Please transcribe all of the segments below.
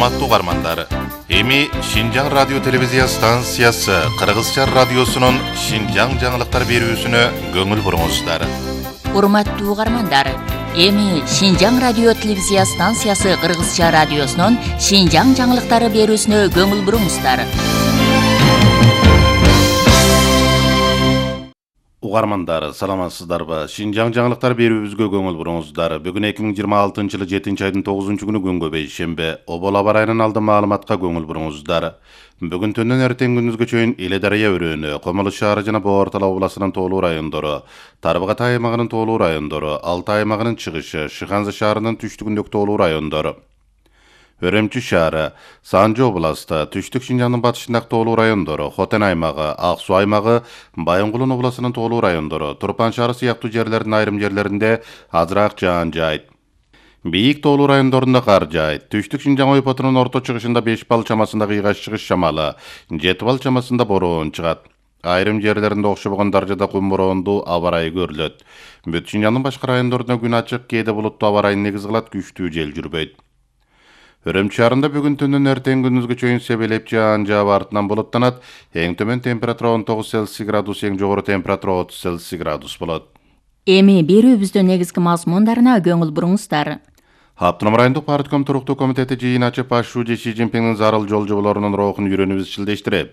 Урматтуу угармандар, эми Шинжаң радио телевизия станциясы Кыргызча радиосунун Шинжаң жаңылыктар берүүсүнө көңүл буруңуздар. Урматтуу угармандар, эми Шинжаң радио телевизия станциясы Кыргызча радиосунун Шинжаң жаңылыктары берүүсүнө көңүл буруңуздар. Угармандар, саламатсыздарбы? Шинжаң жаңылыктар берүүбүзгө көңүл буруңуздар. Бүгүн 2026-жылы 7-айдын 9-күнү күнгө бейшембе. Обол аба ырайынан алдын маалыматка көңүл буруңуздар. Бүгүн түндөн эртең күндүзгө чейин Иле дарыя өрөөнү, Комолу шаары жана Боо Ортолук областынын тоолуу райондору, Тарбагат аймагынын тоолуу райондору, Алтай аймагынын чыгышы, Шыханзы шаарынын түштүгүндөгү тоолуу райондору, Өрөмчү шаары, Санжы областы, Түштүк Шинжаңдын батышындагы тоолуу райондору, Хотен аймагы, Ак Суу аймагы, Байынгулун областынын тоолуу райондору, Турпан шаары сыяктуу жерлердин айрым жерлеринде азыраак жаан жайт. Бийик тоолуу райондорунда кар жайт. Түштүк Шинжаң ойпотунун орто чыгышында 5 балл чамасында кыйгаш чыгыш шамалы, 7 балл чамасында бороон чыгат. Айрым жерлеринде окшобогон даражада кум бороондуу аба ырайы көрүлөт. Бүт Шинжаңдын башка райондорунда күн ачык, кээде булуттуу аба ырайын негиз кылат, күчтүү жел жүрбөйт. Өрөмчү шаарында бүгүн түндөн эртең күндүзгө чейин себелеп жаан жаап артынан булуттанат. Эң төмөн температура 19 Цельсий градус, эң жогору температура 30 Цельсий градус болот. Эми берүүбүздүн негизги мазмундарына көңүл буруңуздар. Автоном райондук партком туруктуу комитети жыйын ачып, Башчы Си Цзиньпиндин зарыл жол жоболорунун роохун үйрөнүп изчилдештирип,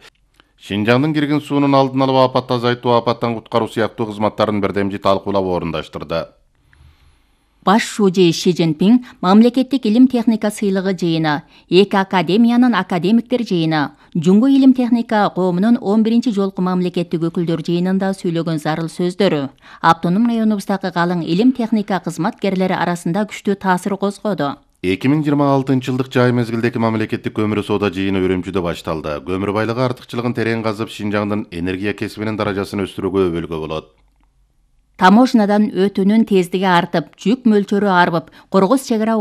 Шинжаңдын кирген суунун алдын алып, апатты азайтуу, апаттан куткаруу сыяктуу кызматтарын бердемжи талкуулап орундаштырды. Башчы Си Цзиньпин мамлекеттик илим техника сыйлыгы жыйыны, эки академиянын академиктер жыйыны, Жуңгу илим техника коомунун 11-ci жолку мамлекеттик өкүлдөр жыйынында сүйлөгөн зарыл сөздөрү автоном районубуздагы калың илим техника кызматкерлери арасында күчтүү таасир козгоду. 2026-жылдык жай мезгилдеки мамлекеттик көмүр соода жыйыны Өрөмчүдө башталды. Көмүр байлыгы артыкчылыгын терең казып, Шинжаңдын энергия кесибинин даражасын өстүрүүгө өбөлгө болот. Таможнядан өтүүнүн тездиги артып, жүк мөлчөрү арбып, Кыргыз чек ара